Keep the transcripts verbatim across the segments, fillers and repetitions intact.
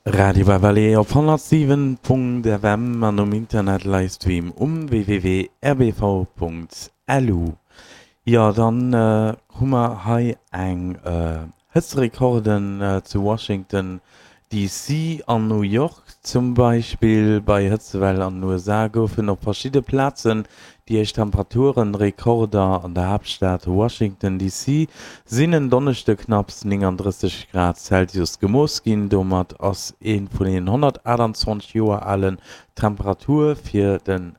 Radio Vallée op honnertsiwen Punkt F M an um Internet Livestream um W W W Punkt R B V Punkt L U. Jo, dann hu mer hei eng Hëtzrekorden zu Washington D C an New York zum Beispill. Bei Hëtzewell an den U S A goufen op verschidde Plazen déi éischt Temperaturerekorder. An der Haaptstad Washington D C sinn en Donneschde knapps nénganddrësseg Grad Celsius gemooss ginn. Domat ass ee vun den honnertaachtanzwanzeg Joer alen Temperature fir den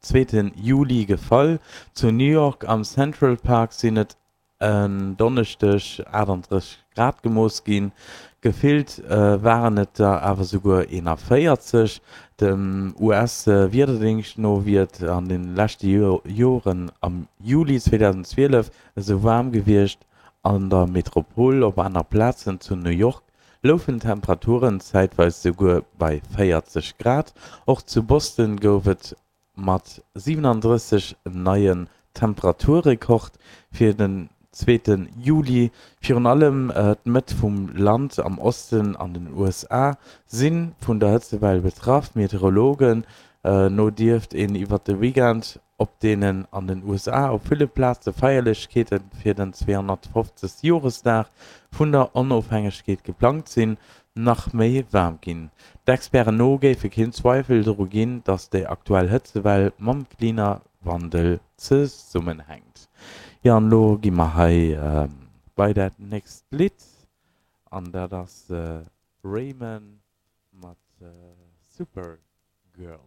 zweete Juli gefall. Zu New York am Central Park sinn et en Donneschdeg aachtanddrësseg Grad gemooss ginn, gefillt waren et der awer souguer eenavéierzeg. Dem U S-Wiederdéngscht no wier et an de leschte Joren am Juli zweedausendzwielef esou waarm gewiescht an der Metropol. Op aner Plazen zu New York louchen d'Temperaturen zäitweis souguer bei véierzeg Grad. Och zu Boston gouf et mat siwenandrësseg en neien Temperaturrekord fir den zweete Juli. Virun allem d'Mëtt vum Land am Osten an den U S A si vun der Hëtztwell betraff. Meteorologen no dierft een iwwer de Weekend, op deenen an den U S A op ville Plaze Feierlechkeete fir den zweehonnertfofzegste Joresdag vun der Onofhängegkeet geplangt sinn, nach méi waarm ginn. D'Experten no géif keen Zweiwel doru ginn, datt déi aktuell Hëtztwell mam Klimawandel zesummenhänkt. Jo, an elo gi mer hei bei dat nächst Lidd an dat ass Raymond mat Supergirl.